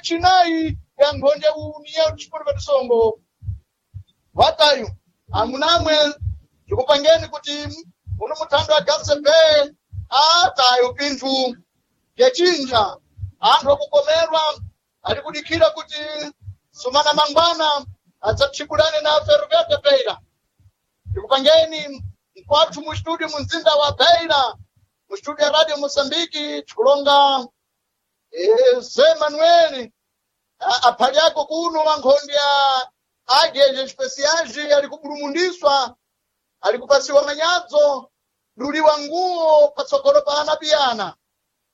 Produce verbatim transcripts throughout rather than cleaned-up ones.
yachinayi ya nkhonde união desportiva de songo watayu amunamwe ndikupangeni kuti uno muthando wa gcb atayu pinthu yachinja anthu akukomerwa ali kudikhira kuti sumana mangwana adzatchigulane na ferroviário de beira ndikupangeni mkwathu mu studio mu mzinda wa beira mu studio ya radio moçambique tikulonga eh, zé manuel aphali ako kuno wankhonde ya ageje especiais ali kupulumundiswa ali kupasiwa manyadzo duliwa nguwo patsogolo pa anapiyana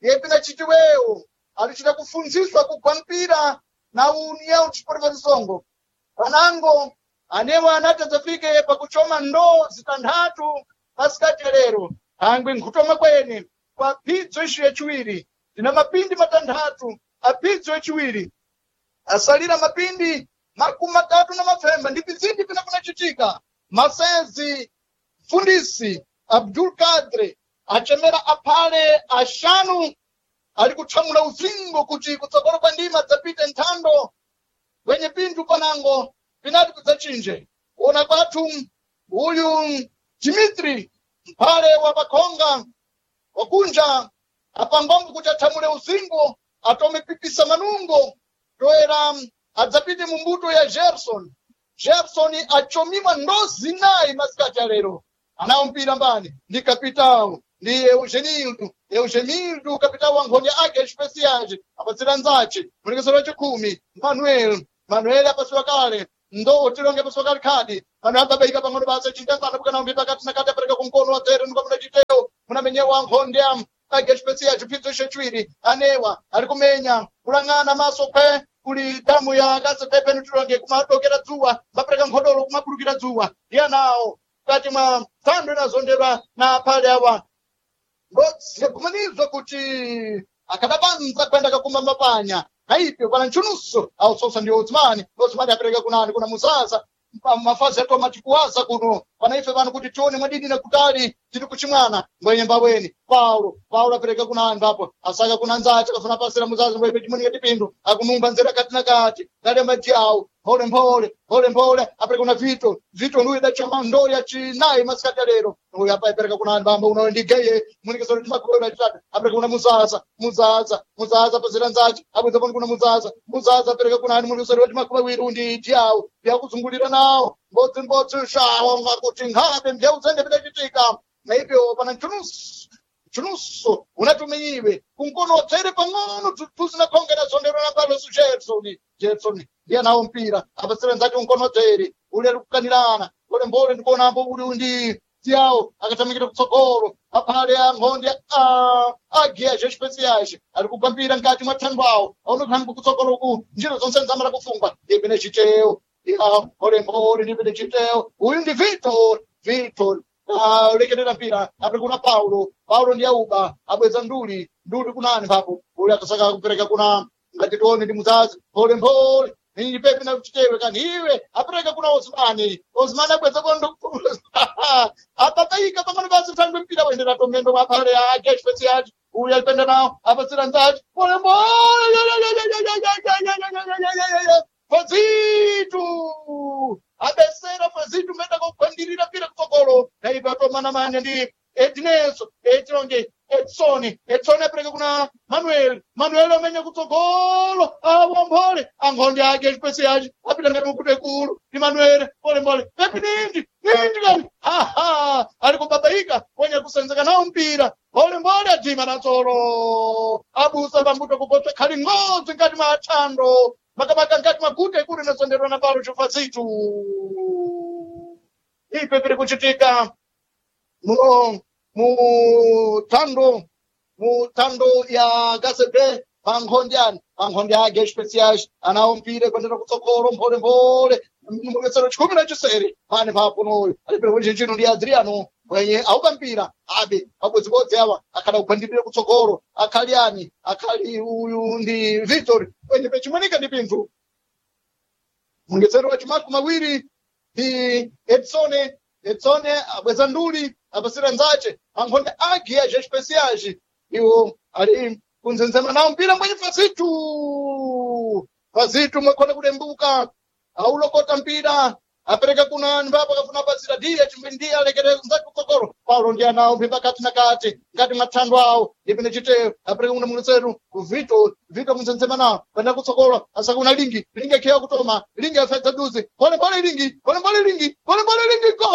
yepina chitiwewo alichita kufunziswa kugwa mpira na união desportiva de songo panango anewo anati adzafike pakuchoma ndoo zitanthatu pasikati lero thangwi nkhutoma kwene kwa phidzo ici yachiwiri tina mapindi matanthatu aphidzo yachiwiri asalira mapindi makumi matatu na mapfemba ndi pizindi pina kunachitika masezi mfundisi abdul kadre achemera aphale axanu ali kuthamula uzingo kuti kutsogolo kwa ndima dzapite nthando wenye pinthu panango pinati kudzachinje kuona kwathu uyu dimitri mphale wa pakhonga wakunja apangombo kuti athamule uzingo atome pipisa manungo toera adzapite mu mbuto ya gerson gerson achomiwa ndo zinayi masikati alero anawo mpira mbani ndi kapitawo ndi eugenildo eugenildo kapitawo wa nkhonde ake especiais apatsira nzace mulekesero wachikhumi manuel manuel apasiwa kale ndo tilonge apasiwa kale khadi manuel ababaika pang'ono basa chintangana bukana pakati nakati apereka kumkono wa tere ndikwamuna chiteyo munamenyewa nkhonde am ake especiais chiphidzo chachiwiri anewa ali kumenya kulang'ana maso kwe kuli damu ya kasepepe nitilonge kumadokera dzuwa mapereka nkhodolo kumabulukira dzuwa ndi anawo mkati mwa thando inazondedwa na aphale awa ngokumanizwa kuti akadapanza kwenda kakuma mapanya naipyo pana ntchunuso ausosa ndi odzimani odzimani apereka kunani kuna muzaza pa- mafazi atoma matikuwaza kuno pana ife pano kuti tione mwadidi na kutali tiri kuchimwana mbwenye mbabweni paulo paulo apereka kuna anthu apo asaka kuna nzace akafuna pasira muzazi mbwepe chimunika tipindu akunumba nzera kati na kati ngalemba tiawo mphole mphole mphole mphole apereka kuna vito vito ndiye idachama ndoo ya chinayi masikati alero uyu apa apereka kuna anthu amba uno ndi geye munikisoro timakuona chitatu apereka kuna muzaza muzaza muzaza pasira nzace abweza pano kuna muzaza muzaza apereka kuna anthu munikisoro timakuba wiru ndi tiawo yakuzungulira nawo mbodzi mbodzi shawo ngakuti nkhabe mbyauzende pidachitika naipyo pana nchunusu chunuso unatumiiwe kunkono tsere pang'ono tusinakhongera zondero na palosu gerson gerson ndiye nawo mpira apatsira nzake unkono tsere uli ali kukanirana mbole mbole ndikuonambo uli ndi tiawo akatamikira kutsogolo aphale ankhonde agiya zespesiais ali kugwa mpira mkati mwa thango awo aonekhangu kutsogolo ku njira zonse nzamala kufungwa ipene chiteyo ya mbole mbole ndipene chiteyo uyu ndi victor victor lekerera mpira apre kuna paulo paulo ndi auba abweza nduli nduli kunani papo uli akasaka kupereka kuna ngati tione ndi muzazi mphole mphole ninyi pepe na chitewe kani iwe apereka kuna osmani osmani abweza kondo apakaika pang'ono pasi thangwe mpira wendera tomendo mwaphale ake especiais uyu alipenda nawo apatsira nzachi mphole mphole fazitu abesera fazitu menda kugwandirira mpira kutsogolo naipa atomana manya ndi edneso etilonge edsoni edsoni apereka kuna manuel manuel amenya kutsogolo awomphole ankhonde ake especiais apita ngati mukutu ikulu ndi manuel polembole pepi nindi nindi kani haha ali kubabaika ponya kusenzeka nawo mpira mbolembole adima natsolo abusa pambuto kupotsa khali ng'odzi ngati mwa athando makamaka ngati maguta ikulu inasonderwa na palo chufazitu ipe piri kuchitika mu mu thando mu thando ya gasebe pankhonde ani pankhonde ake especiais anawo mpira kuendera kutsogolo mphole mphole mukesero chikumi na chisere pane papo alipira kuchinchino ndi adriano mwenye aupa mpira abe pabodzibodzi awa akhala kugwandirira kutsogolo akhali ani akhali uyu ndi victor mwenye pechimanika ndi pinthu mungetsero wa chimakumi mawiri ndi edsone edsone abweza nduli apasira nzace ankhonde agi ya especiais iwo ali Kunzenzema nawo mpira mwenye Fazitu. Fazitu mwakhona kudembuka, aulokota mpira, apereka kuna mbapo akafuna pasira diye chimwe, ndiye alekere nzake kutsogolo. Paulo ndiye anawo mpira kati na kati ngati mathandwa awo ndipine chiteyo, apereka kuna muleseru ku Vito. Vito kunzenzema nawo kwenda kutsogolo, asakuna Lingi. Lingi akhiya kutoma, Lingi afedza duzi, pole pole Lingi, pole pole Lingi, pole pole Lingi, go!